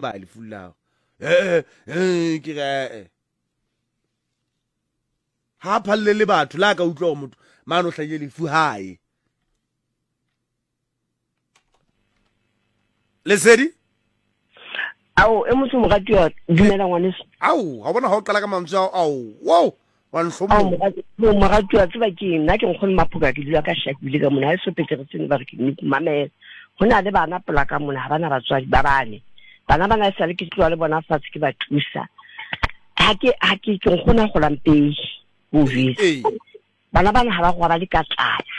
Ba lefu lao. Eh eh ke re eh. Ha phalle le batho la ka utlwa gore motho mane o hlahile lefu hae. Lesedi? Ao, e motho moratuwa, dumela ngwaneso. Ao, ha bona ha o qala ka mantswe ao, ao, wow, wa ntlhomola. Ao, moratuwa, tseba ke nna ke nkgono Maphoka, ke dula ka Shakule ka mona, ha e so pete re tsene ba re ke mme mamela. Ho na le bana pola ka mona, ha bana batswadi ba bane. Bana bana e sale ke tloha le bona fatshe ke ba thusa. Ha ke ha ke ke nkgono a golang pei, o jwetse. Bana bana ha ba robale ka tlala.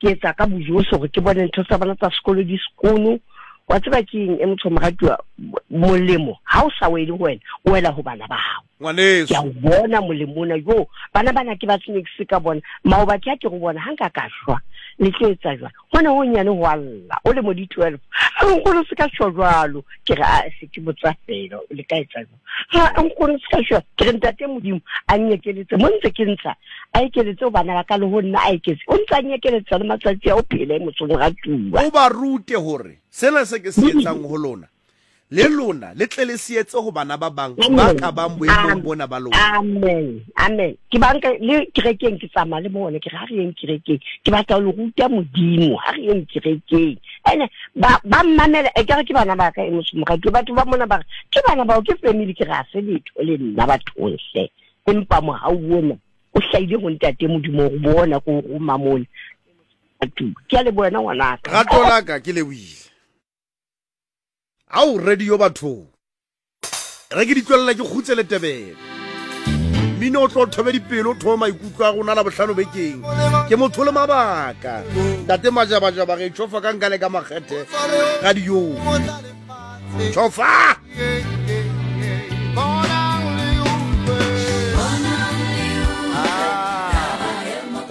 Ke etsa ka bojohle hore ke bone ntho tsa bona tsa sekolo di sekono. Wa tseba ke eng e motho moratuwa molemo ha o sa wele ho wena o wela ho bana ba hao. Ngwaneso. Ke a o bona molemo ona jo bana bana ke ba snacks ka bona maoba ke a ke go bona ha nka ka shwa le tlo etsa jwang hona ho nyane ho alla o le mo di 12 a nkgono se ka shwa jwalo ke re a se ke botsa fela le ka etsa jwang ha nkgono se ka shwa ke re ntate modimo a nyekeletse mo ntse ke ntsha a ekeletse ho bana ba ka le ho nna a eketse o ntse a nyekeletsa le matsatsi a o phele motsong ratuwa o ba rute hore sena se ke se etsang ho lona le lona le tle le se etse ho bana ba bang ba ka bang boemong bona ba lona. Amen, amen. Ke banka le kerekeng ke tsamaya le bone ke re ha re yeng kerekeng ke batla ho le ruta Modimo ha re yeng kerekeng ene ba ba mmamela e kare ke bana ba ka e motho moratuwa batho ba mona ba re ke bana bao ke family ke re ha se letho le nna bathong hle empa mohau ona o hlahile ho ntate Modimo o bona ko o roma mona ke a leboha wena ngwanaka. Rato la ka ke lebohile. Ao radio bathong. Re ke di tlolela ke kgutse le tebele. Mmino o tlo thobe dipelo o thobe maikutlo a rona la bohlano bekeng. Ke motho le mabaka. Ntate Majabajaba re tšhofa ka nkane ka makgethe radio. Tšhofa!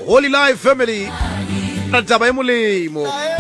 Holy Life Family. Taba e molemo.